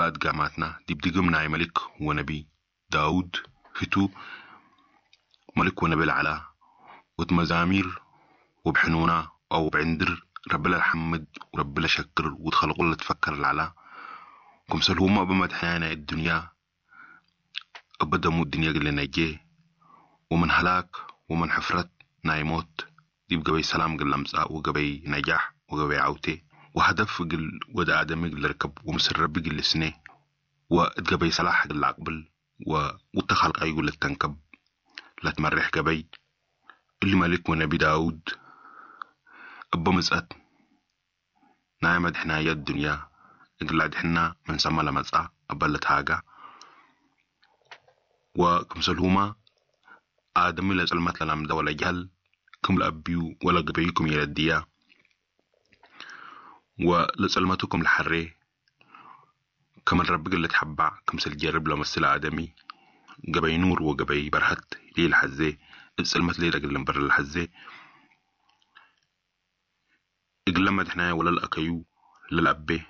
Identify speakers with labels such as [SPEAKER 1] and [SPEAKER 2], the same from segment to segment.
[SPEAKER 1] بأدقاماتنا ديب دقم ناي ملك ونبي داود هتو ملك ونبي العلا وتمزامير وبحنونا أو بعندر رب الحمد ورب شكر وتخلقوا تفكر العلا. كمسل هما بمدحنا الدنيا أبدا مو الدنيا قل نجي ومن هلاك ومن حفرة نايموت ديب قبي سلام قل لمسا وقبي نجاح وقبي عوتي وهدف قل ود آدمي قل ركب ومسر ربي قل سنة وقبي سلاح قل عقبل وتخلق أيقول التنكب لا تمرح قبي اللي ملك ونبي داود أبا مزأت نايمة دحنا الدنيا قل دحنا من سما لمزأ أبا لتهاجا وكمسلهما آدم لزلمت لنمدا ولا جهل كم لأبيو ولا قبيكم يلديا ولزلمتكم الحري كم الرب قل تحبع كم سلجرب لمسل آدمي قبي نور وقبي برهت ليه الحزي السلمت ليه لقل بر الحزي إقلما دحنا ولا الأكيو للأبي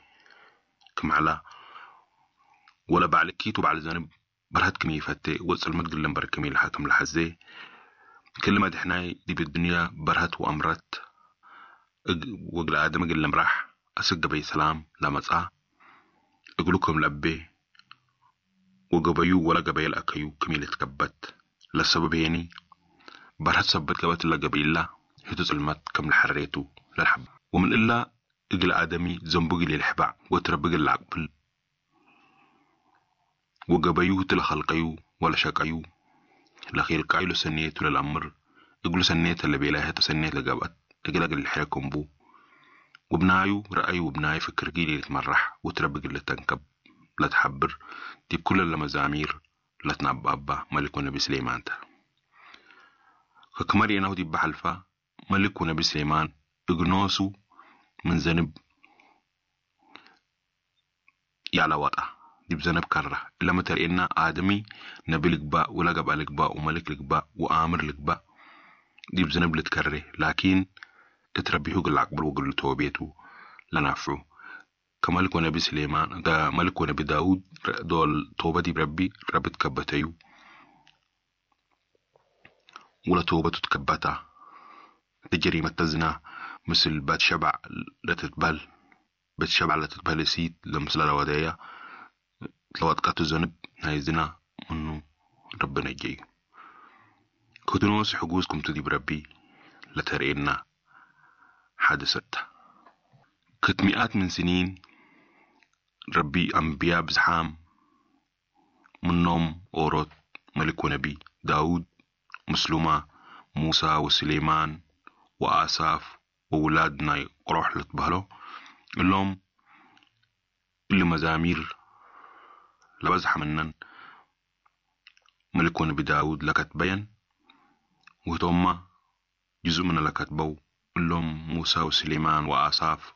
[SPEAKER 1] كم على ولا بعلكيت وبعل زنب برهت كمي فتي وسلمت قل بر كمي الحاكم الحزي كل ما دحنا دي بالدنيا برهت وأمرت وقل آدم قل مراح أسق بي سلام لمسا أقولكم لبي وقبيو ولا قبيل الأكيو كمي تكبت للسبب هيني برهت سبت قبت إلا قبيلة هتو سلمت كم لحريتو للحب ومن إلا إقل آدمي زنبقي للحبع وتربق العقبل وقبيو تلخلقيو ولا شقيو لخيل قايلو سنيتو للأمر إقلو سنيت اللي بيلاها تسنيت لقبت إقل أقل الحركم بو وبنايو رأي وبناي فكر جيلي يتمرح وتربق اللي تنكب لا تحبر دي بكل المزامير لا تنبأ ملك ونبي سليمان تا. كمري أنه دي بحلفة ملك ونبي سليمان إغنوسو من ذنب يعلى وطأ دي بذنب كرة إلا ما ترئنا آدمي نبي لقباء ولا قبأ لقباء وملك لقباء وآمر لقباء دي بذنب لتكره لكن اتربيه قل عقبل وقل توبيته لنافعه كملك ونبي سليمان ملك ونبي داود دول توبة دي بربي ربي تكبتيو ولا توبة تتكبتا تجريمة تزنا مثل بات شبع لا تتبل بات شبع لا تتبل سيد لمثل الودايا لو قاتو ذنب هاي زنا منو ربنا يجي كنتو حجوزكم تدي بربي لا ترئنا حادثة كت مئات من سنين ربي أنبياء بزحام منهم أوروت ملك ونبي داود مسلمة موسى وسليمان وآساف وولادنا قروح لتبهلو اللهم اللي مزامير لبزح منن ملك ونبي داود لكت بين وهتوما جزء من لكتبو اللهم موسى وسليمان وآساف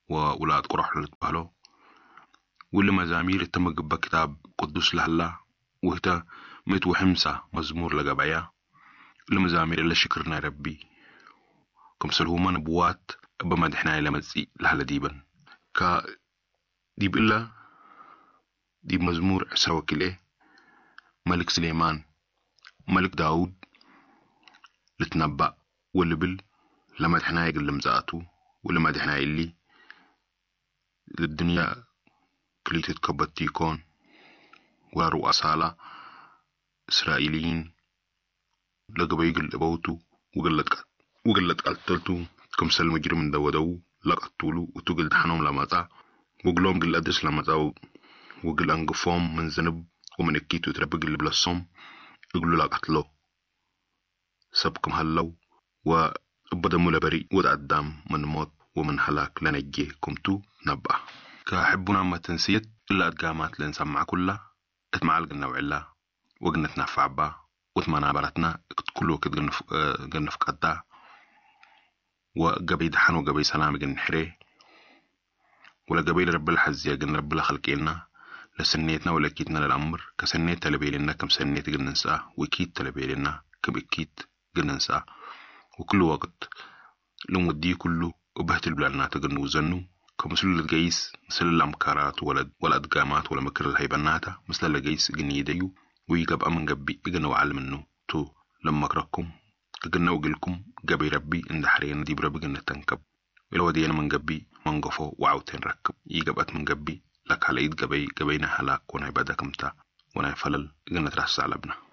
[SPEAKER 1] وولاد قرح لتبهلو واللي مزامير تم جبا كتاب قدوس لهلا وهتا ميت وحمسة مزمور لقبعيا اللي مزامير إلا شكرنا ربي كم سلهما نبوات أبا مدحنا إلى مزي لهلا ديبا كا ديب إلا ديب مزمور عسى إيه ملك سليمان ملك داود لتنبأ واللي لما دحنا يقل مزاتو ولما دحنا اللي للدنيا كل تتكبت تيكون ورؤساء إسرائيليين لقبا يقل أبوتو وقلت قتلتو كم سلم مجرم دو دو لقتولو وتقل دحنهم لما وقلهم قل أدرس لما وقل أنقفهم من ذنب ومن أكيتو تربق اللي بلصهم يقولوا لا قتلو سبكم هلو وبدا مولا بريء وتقدم من موت ومن هلاك لنجي كمتو نبأ كحبنا ما تنسيت إلا أدقامات لنسمع كلها اتمعلق النوع وقنا تنفع با وتمنى برتنا كل وقت قنف قدا وقبي دحن وقبي سلام قن حري ولا قبيل رب الحزية قن رب الخلقينا لسنيتنا ولا كيتنا للأمر كسنيت تلبيلنا كم سنيت قن ننساه وكيت تلبيلنا كم إكيت قن ننساه وكل وقت لمودي كله وبهت البلانات قن وزنو كمسلو لتقيس مسل الأمكارات ولأدقامات ولمكر الهيبناتا مسل لقيس إجن يديو ويقبأ من قبي إجن وعل منه تو لمكركم إجن وجلكم قبي ربي إند حرينا ديب ربي إجن تنكب ولو دينا من قبي منقفو وعوتين ركب يقبأت من قبي لك على إيد قبي قبينا هلاك وناي بدكمتا وناي فلل إجن ترسع لبنا.